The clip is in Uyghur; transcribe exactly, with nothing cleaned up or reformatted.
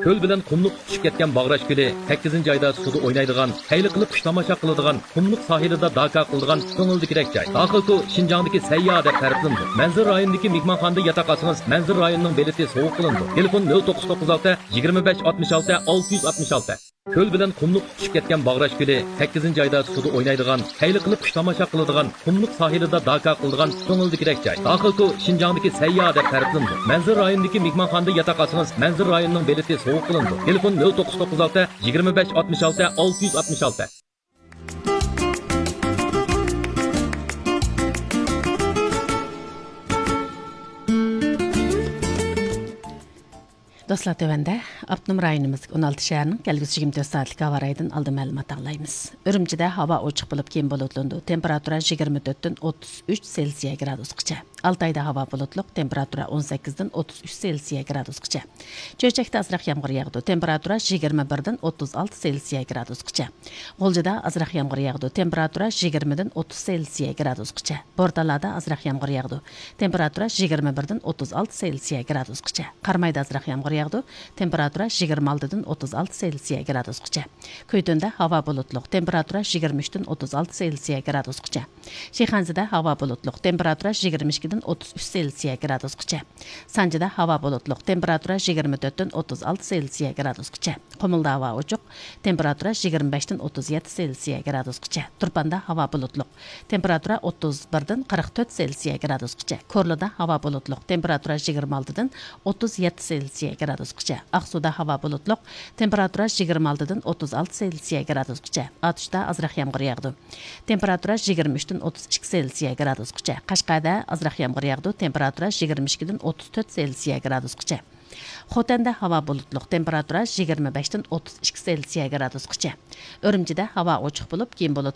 كۆل بىلەن قۇملۇق تۇتىشىپ كەتكەن باغراش كۆلى، سەككىزىنچى ئايدا سۇدا ئوينايدىغان، خەيرلىك قىلىپ قۇش تاماشا قىلىدىغان، قۇملۇق ساھىلىدا داكا قىلىدىغان كۆڭۈلدىكىدەك جاي. داخىلكو شىنجاڭدىكى سەيياھ دەپ تەرىپلىنىدۇ. مەنزىرە رايونىدىكى مېھمانخانىدا ياتاق ئالسىڭىز، مەنزىرە رايونىنىڭ بېلىتى سوۋغا قىلىنىدۇ. تېلېفون: نۆل توققۇز توققۇز ئالتە، يىگىرمە بەش ئاتمىش ئالتە، ئالتە يۈز ئاتمىش ئالتە. كۆل بىلەن قۇملۇق تۇتۇشۇپ كەتكەن باغراش كۆلى، سەككىزىنچى ئايدا سۇدا ئوينايدىغان، خەيرلىك قىلىپ قۇش تاماشا قىلىدىغان، قۇملۇق ساھىلىدا داكا قىلىدىغان كۆڭۈلدىكىدەك جاي. داخىلكو شىنجاڭدىكى سەيياھ دەپ تەرىپلىنىدۇ. مەنزىرە رايونىدىكى مېھمانخانىدا ياتاق ئالسىڭىز، مەنزىرە رايونىنىڭ بېلىتى سوۋغا قىلىنىدۇ. تېلېفون: نۆل توققۇز توققۇز ئالتە، يىگىرمە بەش ئاتمىش ئالتە، ئالتە يۈز ئاتمىش ئالتە. دوستلار، تۆۋەندە ئاپتونوم رايونىمىزدىكى ئون ئالتە شەھەرنىڭ كەلگۈسى يىگىرمە تۆت سائەتلىك ھاۋا رايىدىن ئالدىن مەلۇمات ئاڭلايمىز. ئۈرۈمچىدە ھاۋا ئوچۇق بولۇپ، كېيىن بۇلۇتلىنىدۇ. تېمپېراتۇرا يىگىرمە تۆتتىن ئوتتۇز ئۈچ سېلسىيە گرادۇسقىچە. ئالتايدا ھاۋا بۇلۇتلۇق، تېمپېراتۇرا ئون سەككىزدىن ئوتتۇز ئۈچ سېلسىيە گرادۇسقىچە. چۆچەكتە ئازراق يامغۇر ياغىدۇ، تېمپېراتۇرا يىگىرمە بىردىن ئوتتۇز ئالتە سېلسىيە گرادۇسقىچە. غۇلجىدا ئازراق يامغۇر ياغىدۇ، تېمپېراتۇرا يىگىرمىدىن ئوتتۇز سېلسىيە گرادۇسقىچە. بورتالادا ئازراق يامغۇر ياغىدۇ، تېمپېراتۇرا يىگىرمە بىردىن ئوتتۇز ئالتە سېلسىيە گرادۇسقىچە. قارامايدا ئازراق يامغۇر ياغىدۇ، تېمپېراتۇرا يىگىرمە ئالتىدىن ئوتتۇز ئالتە سېلسىيە گرادۇسقىچە. كۈيتۈندە ھاۋا بۇلۇتلۇق، تېمپېراتۇرا يىگىرمە ئۈچتىن ئوتتۇز ئالتە سېلسىيە گرادۇسقىچە. شىخەنزىدە ھاۋا بۇلۇتلۇق، تېمپېراتۇرا يىگىرمە ئىككىدىن ئوتتۇز ئۈچ سېلسىيە گرادۇسقىچە. سانجىدا ھاۋا بۇلۇتلۇق، تېمپېراتۇرا يىگىرمە تۆتتىن ئوتتۇز ئالتە سېلسىيە گرادۇسقىچە. قۇمۇلدا ھاۋا ئوچۇق، تېمپېراتۇرا يىگىرمە بەشتىن ئوتتۇز يەتتە سېلسىيە گرادۇسقىچە. تۇرپاندا ھاۋا بۇلۇتلۇق، تېمپېراتۇرا ئوتتۇز بىردىن قىرىق تۆت سېلسىيە گرادۇسقىچە. كورلىدا ھاۋا بۇلۇتلۇق، تېمپېراتۇرا يىگىرمە ئالتىدىن ئوتتۇز يەتتە سېلسىيە گرادۇسقىچە. ئاقسۇدا ھاۋا بۇلۇتلۇق، تېمپېراتۇرا يىگىرمە ئالتىدىن ئوتتۇز ئالتە سېلسىيە گرادۇسقىچە. ئاتۇشتا ئازراق يامغۇر ياغىدۇ، تېمپېراتۇرا يىگىرمە ئۈچتىن ئوتتۇز ئىككى سېلسىيە گرادۇسقىچە. قەشقەردە ئازراق يامغۇر ياغىدۇ، تېمپېراتۇرا يىگىرمە ئىككىدىن ئوتتۇز تۆت سېلسىيە گرادۇسقىچە. خوتەندە ھاۋا بۇلۇتلۇق، تېمپېراتۇرا يىگىرمە بەشتىن ئوتتۇز ئىككى سېلسىيە گرادۇسقىچە. ئۈرۈمچىدە ھاۋا ئوچۇق بولۇپ، كېيىن بۇلۇتلىنىپ،